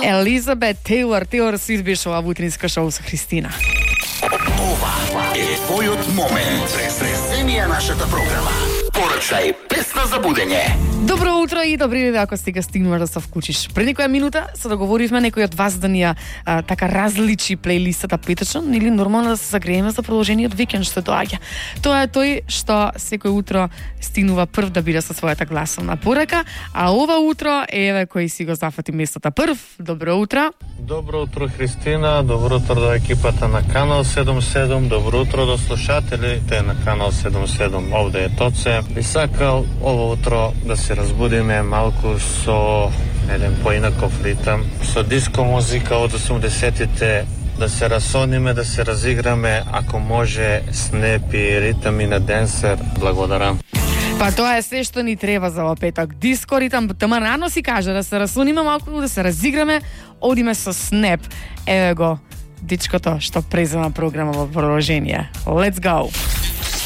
Елизабет Тейлор Свифт беше ова утринска шоу со Христина. Ова е твојот момент. Преземија нашата програма. Порачај песна за будење. Добро утро и добри ден ако сега стигнуваш да се вклучиш. Пред некоја минута се договоривме некој од вас да ни така различи плейлистата петочно или нормално да се загрееме за продолжениот викенд што доаѓа. Тоа е тој што секој утро стигнува прв да биде со својата гласовна порака, а ова утро еве кој си го зафати местото прв. Добро утро. Добро утро, Христина. Добро утро до екипата на Канал 77. Добро утро до слушателите на Канал 77. Овде е Тоце. Би сакал ово утро да се разбудиме малку со еден поинаков ритам, со диско музика од 80-тите, да се расониме, да се разиграме, ако може, снепи, ритами на денсер. Благодарам. Па тоа е се што ни треба за во петок. Диско ритам, тама рано си кажа да се расуниме малку, да се разиграме, одиме со снеп. Еве го, дичкото што презема програма во продолжение. Let's go!